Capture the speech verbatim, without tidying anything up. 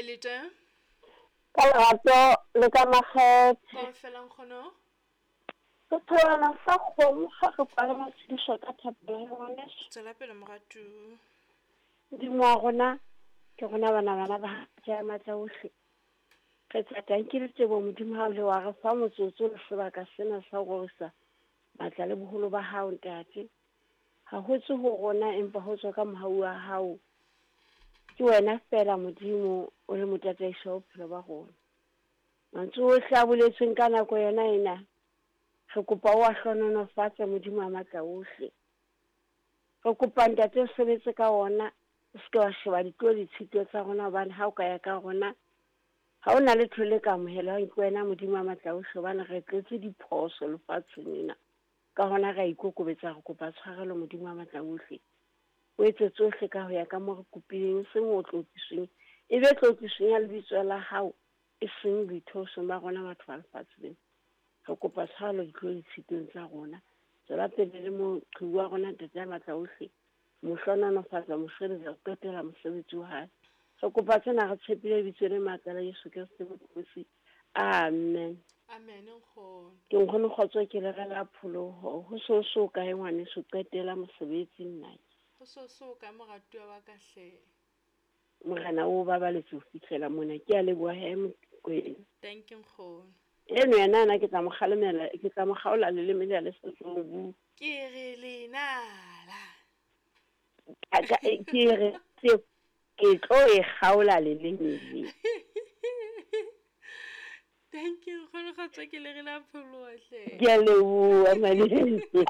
Kae le teng? Ka lerato le ka makgethe. Kaofela nkgono. Setholwana sa kgomo ga re kwale matshedišo ka thapelo ya ngwaneso. Tswela pele moratuwa. Modimo wa rona, ke rona bana bana ba ja matla ohle. Re tla tanki le tebo Modimo ha o le wa re fa motsotso le sebaka sena sa ho rorisa matla le boholo ba hao ntate. Ha ho tswe ho rona empa ho tswa ka mohau wa hao. Ke wena fela Modimo o le motataiso wa bophelo ba rona. Mantswe ohle a boletsweng ka nako yona ena, re kopa o a hlohonolofatse Modimo wa matla ohle. Re kopa ntate o sebetse ka ona, o seke wa sheba ditlo le ditshito tsa rona hobane ha o ka ya ka rona, ha o na letho le ka amohelwang ke wena Modimo wa matla ohle hobane re tletse diphoso lefatsheng lena. Ka hona re a ikokobetsa re kopa tshwarelo Modimo wa matla ohle. O etse tsohle ka ho ya ka mo re kopileng, e seng ho tlotlisweng. E be tlotlisweng ya lebitso la hao, e seng boithaosong ba rona batho ba lefatshe lena. Re kopa tshwarelo ditlo le ditshitong tsa rona. Tswela pele le moqhibi wa rona ntate ya matla ohle. Mo hlohonolofatsa, mo sireletsa ho qetela mosebetsi wa hae. Re kopa tsena re tshepile lebitso le matla la Jesu Kreste Mopholosi. Amen. Amen nkgono. Ke nkgono kgotso ke le rela pholoho. Ho so so kae ngwaneso qetela mosebetsi nna. Ho so so kae moratuwa wa ka hle. Morena o babaletse ho fihlela mona. Ke a leboha he Mokwena. Thank you nkgono. Eno yena ana ke tla mo kgalemela, ke tla mo kgaola leleme le le sa tswang bua. Ke re lenala. Ka ke re ke tlo e kgaola leleme le. Thank you nkgono kgotso ke le re la pholoho hle. Ke a leboha malome.